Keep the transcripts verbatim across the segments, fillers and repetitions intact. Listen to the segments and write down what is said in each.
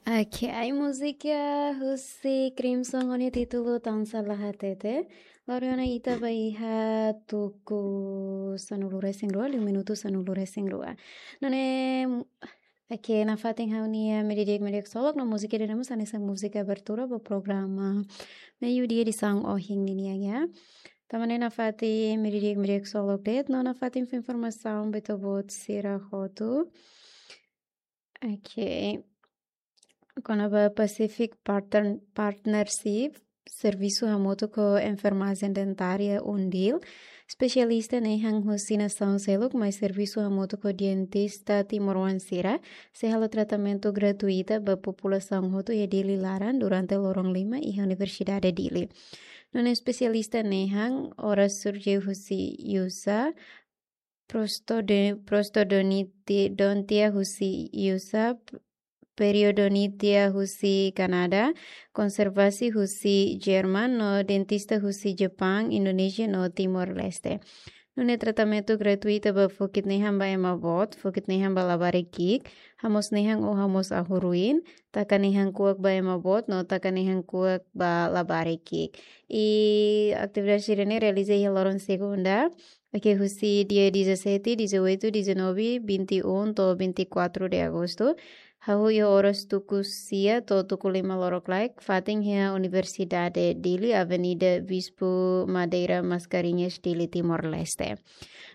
Oke, ai múzika husi Crimson ho nia títulu Tansá La Hatete. Lori ona ita ba iha tuku sanulu-resin-rua, liu minutu sanulu-resin-rua. Nune'e, oke, nafatin ha'u-nia medidik medidik solok no múzika ida-ne'e mós hanesan múzika abertura ba programa meiudia edisaun ohin ninian ya. Tanba ne'e nafatin medidik medidik solok de'it no nafatin fó informasaun ba ita-boot sira hotu. Oke. Kona-ba Pacific Partner-, Partnership, servisu hamutuk ho enfermajen dentária UNDIL, espesialista nehan husi nasaun seluk mai servisu hamutuk ho dentista timoroan sira, sei halo tratamentu gratuita ba populasaun hotu iha Dili laran durante loron lima iha Universidade Dili. Nune'e espesialista nehan oral surgery husi U S A, prostode-, prostodonti-, dontia husi U S A, periodontia husi Kanadá, konservasi husi Jerman no dentista husi Japán, Indonézia no Timor-Leste. Nune'e tratamentu gratuita ba fokit nehan ba ema boot, fokit nehan ba labarik ki'ik, hamoos nehan ou hamoos ahuru-rin, taka nehan kuak ba ema boot no taka nehan kuak ba labarik ki'ik. I atividade sira-ne'e realiza iha loron segunda, oke, husi dia dezassete, dezoito, dezanove, vinte e um to'o vinte e quatro de agosto. Hahú iha oras tuku sia to'o tuku lima lorokraik, fatin iha Universidade Dili, Avenida Bispo Madeira Mascarenhas, Dili, Timor-Leste.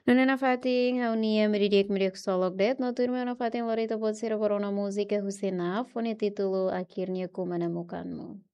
Nune'e nafatin ha'u-nia medidik medidik solok de'it, no tuirmai nafatin lori ita-boot sira ba rona múzika husi NAF, ho nia títulu Akhirnya Ku Menemukanmu.